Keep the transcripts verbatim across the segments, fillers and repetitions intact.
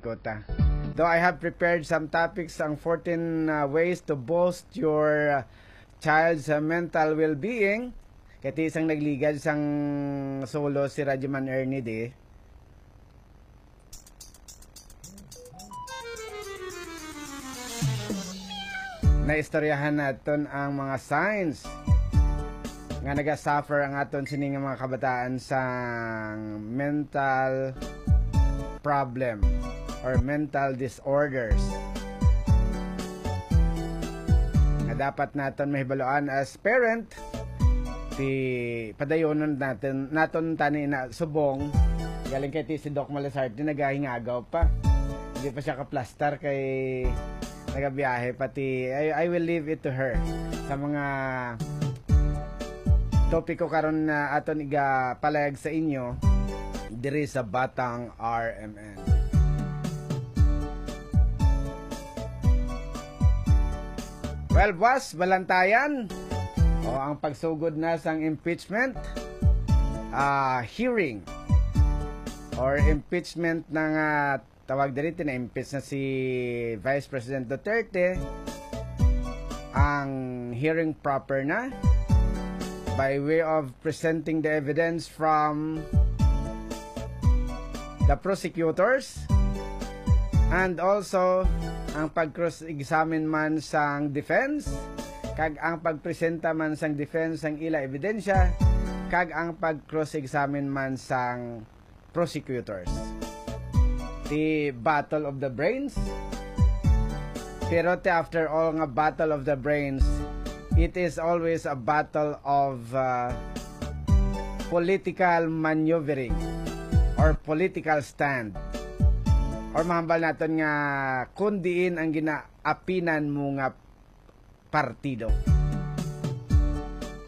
Kota. Though I have prepared some topics, ang fourteen, uh, ways to boost your, uh, child's, uh, mental well-being. Kay ti sang nagligad sang solo si Radyoman Ernie di. Naistoryahan naton ang mga signs nga nagasuffer ang aton sini nga mga kabataan sang mental problem or mental disorders nga dapat naton mahibaluan as parent. Ti padayonon natin naton tani na subong galing kay ti si Doc Malazarte nagahingagaw pa. Hindi pa siya kaplastar kay nagabiyahe pati. I, I will leave it to her sa mga topiko karon na aton igapalayag sa inyo diri sa Batang R M N. Well, boss, balantayan o ang pagsugod na sang impeachment, ah, hearing or impeachment ng, ah, tawag diri, tina-impeach na si Vice President Duterte. Ang hearing proper na by way of presenting the evidence from the prosecutors and also ang pag-cross-examine man sang defense kag ang pagpresenta man sang defense sang ila ebidensya kag ang pag-cross-examine man sang prosecutors. The battle of the brains. Pero ti after all nga battle of the brains, it is always a battle of, uh, political maneuvering or political stand. Or mahambal naton nga kung diin ang ginaapinan mo nga partido.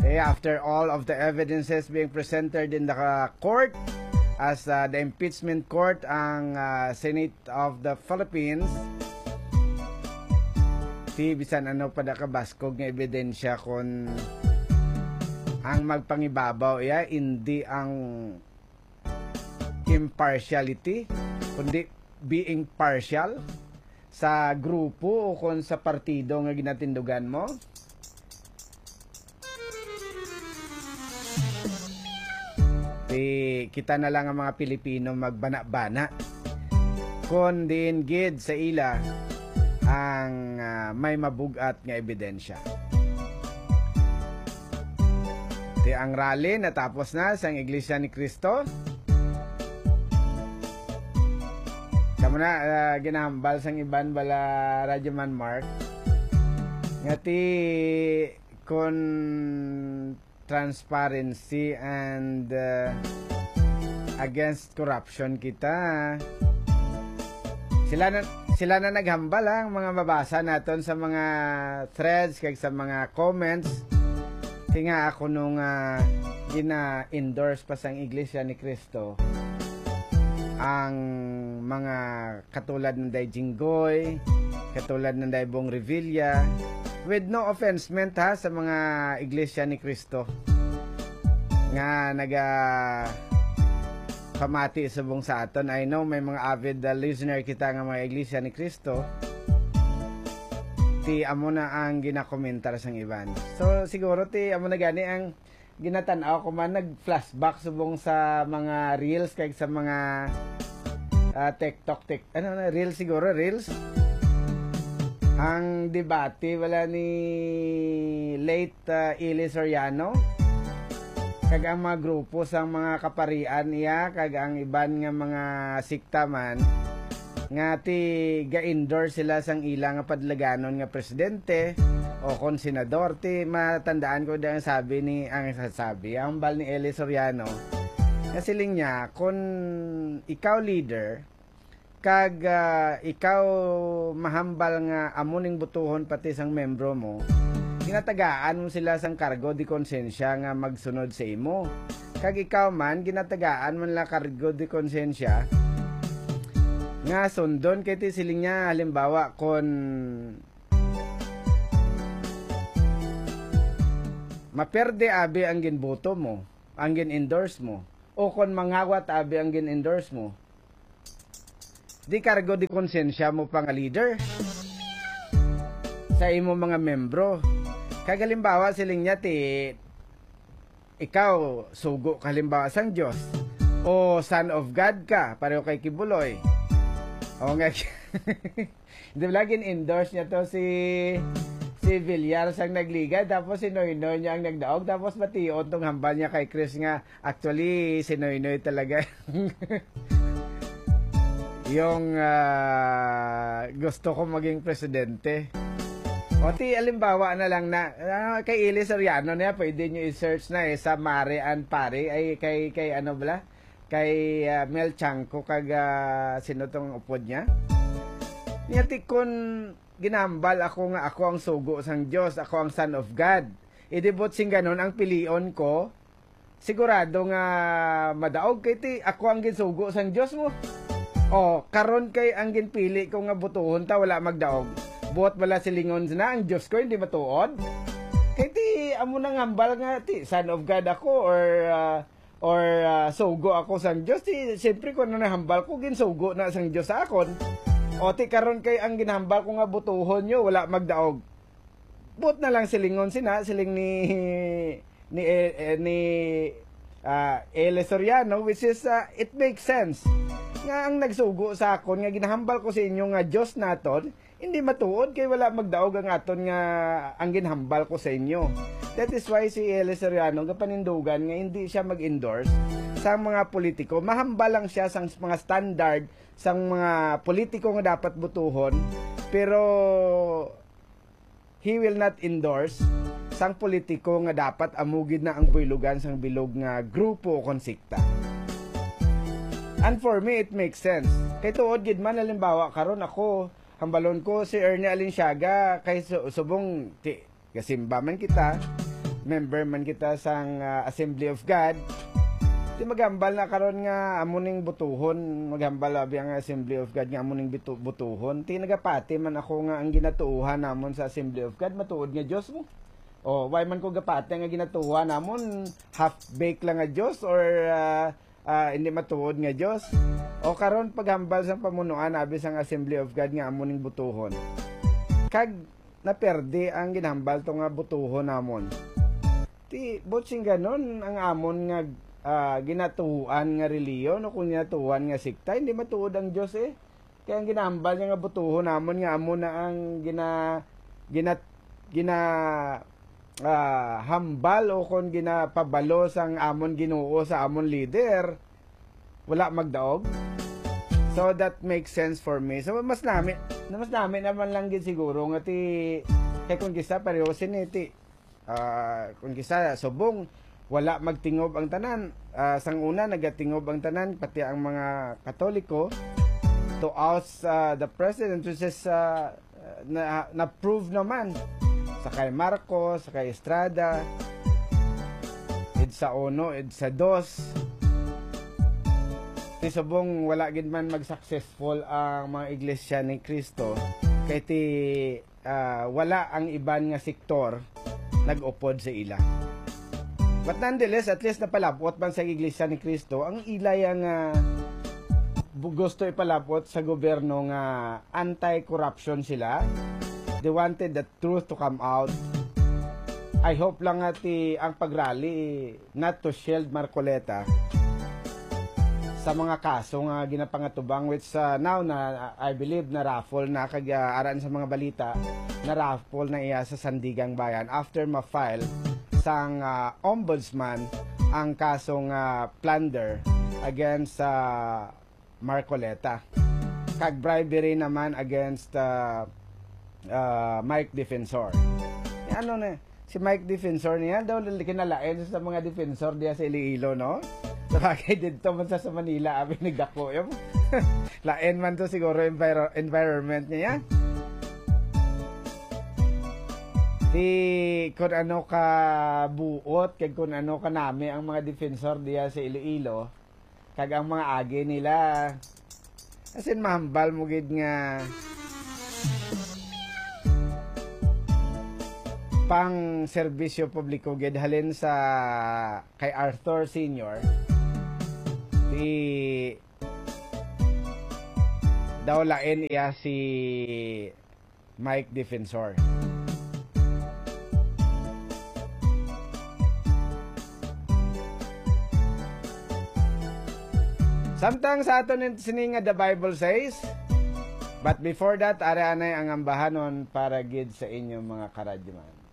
Okay, after all of the evidences being presented in the, uh, court, as, uh, the impeachment court, ang, uh, Senate of the Philippines, ti bisan ano pa da kabaskog nga ebidensya kon ang magpangibabaw iya, indi ang impartiality, kundi being partial sa grupo o kon sa partido nga ginatindugan mo? Di kita na lang ang mga Pilipino magbana-bana kon diin gid sa ila ang, ah, may mabugat nga ebidensya. Di ang rally natapos na sang Iglesia ni Cristo. Kamo na, ah, ginahambal sang iban bala, Radyo Man Mark, nga ti kon transparency and, uh, against corruption kita. Sila na, sila na naghambal, ha, ang mga mabasa naton sa mga threads kag sa mga comments. Kay nga ako nung, uh, gina-endorse pa sang Iglesia ni Cristo ang mga katulad ng Day Jinggoy, katulad ng Day Bong Revilla, with no offense meant, ha, sa mga Iglesia ni Cristo nga naga pamati subong sa aton. I know may mga avid, uh, listener kita nga mga Iglesia ni Cristo. Ti amo na ang ginakomentar sang iban. So siguro ti amo na gani ang ginatan-aw ko man, nag-flashback subong sa mga reels kag sa mga, ah, TikTok, tik-, ano na, reels siguro, reels. Ang debate wala ni late, ah, Eli Soriano kag ang mga grupo sang mga kaparian iya kag ang iban nga mga sikta man nga ti ga-endorse sila sang ila nga padlaganon nga presidente o kon senador. Ti matandaan ko di ang sabi ni, ang sasabi, ang hambal ni Eli Soriano, nga siling niya, kon ikaw leader, kag, ah, ikaw mahambal nga amo ning butuhon pati sang membro mo, ginatagaan mo sila sang kargo de konsensya nga magsunod sa imo. Kag ikaw man, ginatagaan mo nila kargo de konsensya nga sundon kay ti siling niya, halimbawa, kon maperde abi ang ginboto mo, ang gin-endorse mo, o kon mangawat abi ang gin-endorse mo, Di kargo di konsensya mo pa nga leader sa imo mga membro. Kag halimbawa, siling niya, ti, ikaw, sugo ka halimbawa sang Dios, o son of God ka, pareho kay Kibuloy. O nga, di ba, gin-endorse niya to si, si Villar sang nagligad, tapos si Noynoy niya ang nagdaog, tapos mation tong hambal niya kay Chris nga, actually, si Noynoy talaga yung, ah, gusto ko maging presidente. O, ti, alimbawa na lang na, ah, kay Eli Soriano niya, pwede nyo i-search na eh, sa Mare and Pare, ay kay, kay ano bala? Kay, ah, Mel Chanco kag, ah, sino tong upod niya? Niya, ti, kun ginambal ako nga ako ang sugo sang Dios, ako ang Son of God. Idibot sing ganon ang pilion ko, sigurado nga madaog kay ti ako ang ginsugo sang Dios mo. O, karon kay ang ginpili ko nga butuhon ta wala magdaog. Buot bala silingon na ang Dios ko hindi matuod? Kay ti amo nang hambal nga ti Son of God ako or, ah, or, ah, sugo ako sang Dios, ti siyempre kung ano nahambal ko, ginsugo na sang Dios sa akon. O ti karon kay ang ginhambal ko nga butuhon nyo wala magdaog. Buot na lang silingon sina, siling ni ni eh, eh, ni ah, Eli Soriano, which is, ah, it makes sense nga ang nagsugo sa akon nga ginahambal ko sa inyo nga Dios naton, hindi matuod kay wala magdaog ang aton nga ang ginhambal ko sa inyo. That is why si Eli Soriano gapanindugan nga hindi siya mag-endorse sa mga politiko. Mahambal lang siya sa mga standard sang mga politiko nga dapat butuhon, pero he will not endorse sang politiko nga dapat amo gid na ang buylogan sang bilog nga grupo o konsikta. And for me, it makes sense. Kay tuod gid man, halimbawa, karon ako, hambalon ko si Ernie Alinsyaga, kay su- subong ti gasimba man kita, member man kita sang, ah, Assembly of God. Ti maghambal na karon nga amo ning butuhon, maghambal abi ang Assembly of God nga amo ning bitu- butuhon. Ti nagapati man ako nga ang ginatuohan namon sa Assembly of God matuod nga Dios mo. O, why man ko gapati nga ginatuohan namon half-baked lang nga Dios or, ah, ah, hindi matuod nga Dios? O karon paghambal sang pamunuan abi sang Assembly of God nga amo ning butuhon. Kag naperde ang ginhambal to nga butuhon namon. Ti, buot sing ganon, ang amon nga, ah, ginatuohan nga reliyon o kung ginatuohan nga sekta, hindi matuod ang Dios eh. Kaya ang ginahambal niya nga butuhon namon nga amo na ang gina-, gina-, gina-, ah, hambal o kon ginapabalo sang amon Ginoo sa amon leader, wala magdaog. So that makes sense for me. So mas nami, mas nami naman lang gid siguro nga ti, kay kung kisa pareho sini ti, ah, kung kisa subong wala magtingob ang tanan. Ah, sang una nagatingob ang tanan, pati ang mga Katoliko, to oust, ah, the president, which is, ah, na, na-prove naman sa kay Marcos, sa kay Estrada, EDSA uno, EDSA dos. Ti subong wala gid man mag-successful ang mga iglesia ni Cristo, kay ti, ah, wala ang iban nga sektor nag-upod sa ila. But nonetheless, at least napalabot man sa Iglesia ni Cristo ang ila yang, ah, bu-, gusto ipalabot sa gobyerno nga anti-corruption sila. They wanted the truth to come out. I hope lang nga ti ang pag-rally not to shield Marcoleta sa mga kaso nga ginapangatubang, which, ah, now na, I believe, na-raffle na kag, ah, aran sa mga balita, na-raffle na iya sa Sandigang Bayan after ma-file sang, ah, ombudsman ang kasong, ah, plunder against sa Marcoleta kag bribery naman against, ah, ah, Mike Defensor. Eh, ano na, si Mike Defensor niya daw kinalain sa mga defensor diya sa Iloilo, no? Sabagay, dito man sa, sa Manila, abi nagdako yun. Lain man to siguro enviro-, environment niya. Di kun ano ka buot, kag kun ano ka nami ang mga defensor diya sa Iloilo, kag ang mga agi nila. As in, mahambal mo gid nga pang serbisyo publiko gid halin sa kay Arthur Senior. Di daw lain iya si Mike Defensor. Samtang sa aton sini nga The Bible Says, but before that, ari anay ang ambahanon para gid sa inyong mga karadyoman.